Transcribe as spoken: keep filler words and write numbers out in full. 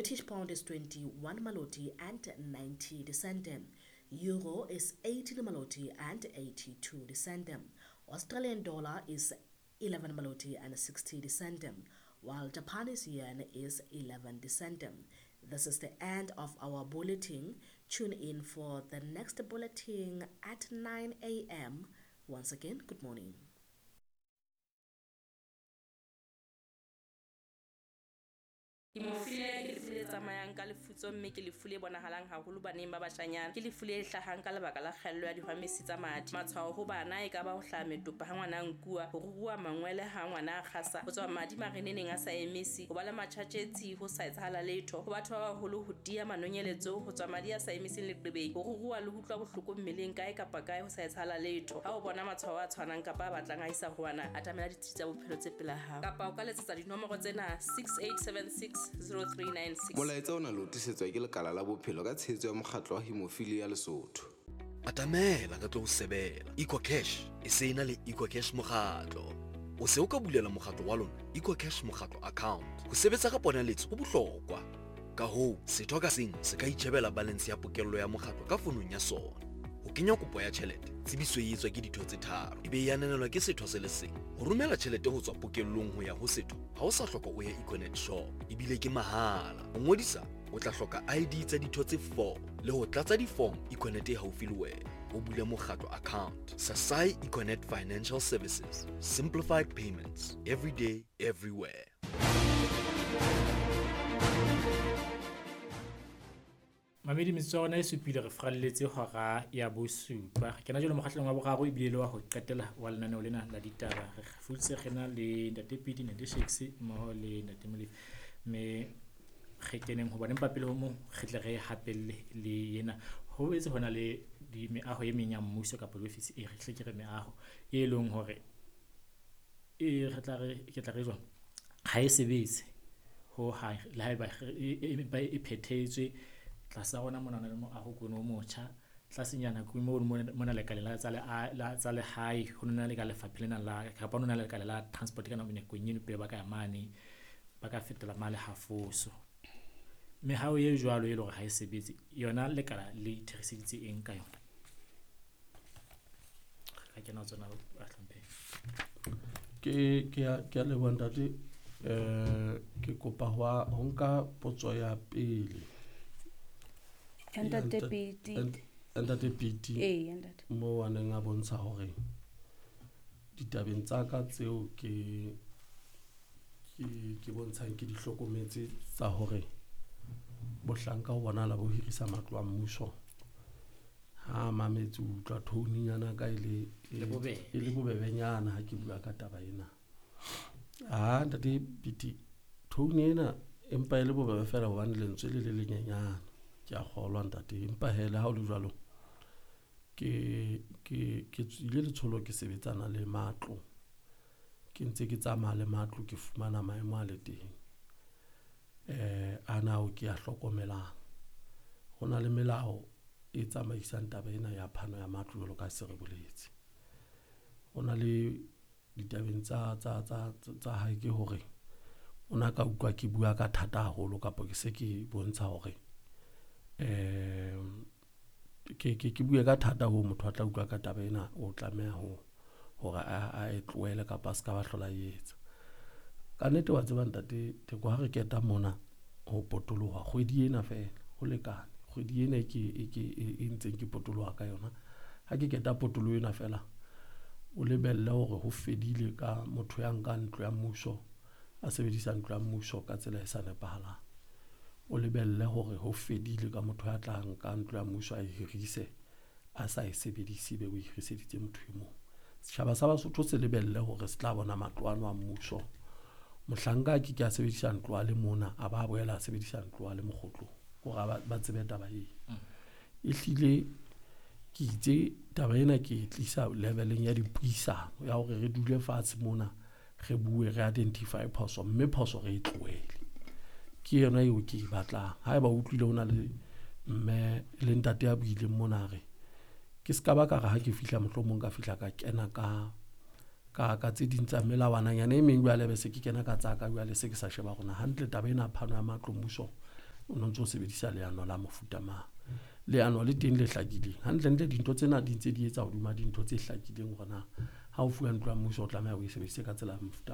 British pound is twenty-one maloti and ninety cent. Euro is eighteen maloti and eighty-two cent. Australian dollar is eleven maloti and sixty cent, while Japanese yen is eleven cent. This is the end of our bulletin. Tune in for the next bulletin at nine A M. Once again, good morning. Hemophilia ke lefu le tsamayang ka lefutso mme ke lefu le bonahalang haholo baneng ba bashanyana. Ke lefu le hlahang ka lebaka la kgaello ya dihwamesi tsa madi. Matshwao ho bana e ka ba ho hlaha metopa ha ngwana a nkuwa, ho ruruha mangwele ha ngwana a kgasa, ho tswa madi mareneneng a sa emisi, ho ba le matjhatjhetsi ho sa etsahala letho, ho batho ba baholo ho tiya manonyeletso, ho tswa madi a sa emiseng leqebeng, ho ruruha le ho utlwa bohloko mmeleng kae kapa kae ho sa etsahala letho. Ha o bona matshwao a tshwanang kapa a batlang a isa ho wena, atamela ditsi tsa bophelo tse pela hao. Kapa o ka letsetsa dinomoro tsena six eight seven six zero three nine six. Molaetsa ona le o tlisetswa ke lekala la bophelo ka tshehetso ya mokgatlo wa Hemophilia Lesotho. Atamela ka tlo ho sebela. EcoCash e se ena le EcoCash mokgatlo. O se o ka bulela mokgatlo wa lona EcoCash mokgatlo account. Ho sebetsa ka ponaletso ho bohlokwa. Ka hoo, setho ka seng se ka itjhebela balance ya pokello ya mokgatlo ka fonong ya sona. Ho kenya kopo ya tjhelete, tsebiso e etswa ke ditho tse tharo, ebe e ananelwa ke setho se le seng. Ho romela tjhelete ho tswa pokellong ho ya ho setho, ha o sa hloka o ye Econet shop, ebile ke mahala. Ho ngodisa, o tla hloka I D tsa ditho tse four le ho tlatsa di-form Econet e haufi le wena. O bule mokgatlo account. Sasai Econet Financial Services. Simplified payments. Every day, everywhere. Mamedi metsotso ya rona e supile re fralletse hora ya bosupa. Re kena jwale mokgahlelong wa boraro ebile le wa ho qetela wa lenaneo lena la ditaba. Re futse re na le Ntate Pidi, Ntate Shakes mmoho le Ntate Molefi. Mme re keneng hobane empa pele ho moo re tle re hapelle le yena. Ho etse hona le di meaho e meng ya mmuso kapa diofisi e re hle ke re meaho e leng hore e re tla re ke tla re jwang ha e sebetse ho ha le haeba e e phethetswe tlasa rona mona na le moaho kono o motjha tlasenyana ke mo mona lekaleng la tsa le la tsa lehae ho nna le ka lefapha lena la kapa ho nna le lekala la transport ka nako e pele ba ka ya mane ba ka fetola male hafoso mehao e jwalo e le hore ha e sebetse yona lekala le itheriseditse eng ka yona ha ke na tsona a hlomphe ke ke ya ke a leboha ntate eh ke kopa ho ho nka potso ya pele Ntate Piti. Ntate Piti. Eh, ntate. Mo a neng a bontsha hore ditabeng tsa ka tseo ke ke ke bontshang ke di hlokometse tsa hore bohlanka ho bonahala bo hirisa matlo a mmuso. Ha mametse utlwa tone-nyana ka ile e le bobebenyana ha ke bua ka taba ena. Ah ntate Piti, tone ena empa e le bobebe fela hobane lentswe le le lenyenyana. Ke a kgolwa ntate empa hele ha o le jwalo ke ke ke tswile letsholo ke sebetsana le matlo ke ntse ke tsamaya le matlo ke fumana maemo a le teng eh ana o ke a hlokomelang ho na le melao e tsamaisang taba ena ya phano ya matlo jwalo ka se re boletse ho na le ditabeng tsa tsa tsa tsa hae ke hore o na ka utlwa ke bua ka thata haholo kapa ke se ke bontsha hore eh ke ke ke bue ka thata ho motho a tla utlwa ka taba ena o tlameha ho hore a e tlohele kapa a ska ba hlola etsa ka nnete wa tseba ntate Theko ha re keta mona ho potoloha kgwedi ena fela ho lekane kgwedi ena ke ke e ntseng ke potoloha ka yona ha ke keta potoloho ena fela o lebelle hore ho fedile ka motho ya nkang ntlo ya mmuso a sebedisa ntlo ya mmuso ka tsela e sa nepahalang o lebelle hore ho fedile ka motho ya tlang ka ntlo ya mmuso a e hirise a sa e sebedise be o hiriseditse motho e mong setjhaba sa Basotho se lebelle hore se tla bona matlo ano a mmuso mohlanka ke ke a sebedisa ntlo a le mona a ba boela a sebedisa ntlo a le mokgotlong hore ba tsebe taba e ehlile ke itse taba ena ke e tlisa leveleng ya dipuisano ya hore re dule fatshe mona re bue re identify phoso mme phoso re e tlohele ke yona eo ke e batlang haeba o utlwile ho na le mme le ntate ya buileng mona re ke ska ba ka re ha ke fihla mohlomong ka fihla ka kena ka ka ka tse ding tsa melawananyana e meng jwale be se ke kena ka tsa ka jwale se ke sa sheba rona hantle taba ena phano ya matlo mmuso O no ntso sebedisa leano la mofuta mang. Leano le teng le hlakileng. Hantlentle dintho tsena di ntse di etsa hodima dintho tse hlakileng hore na ha o fuwa ntlo ya mmuso o tlameha o e sebedise ka tsela ya mofuta.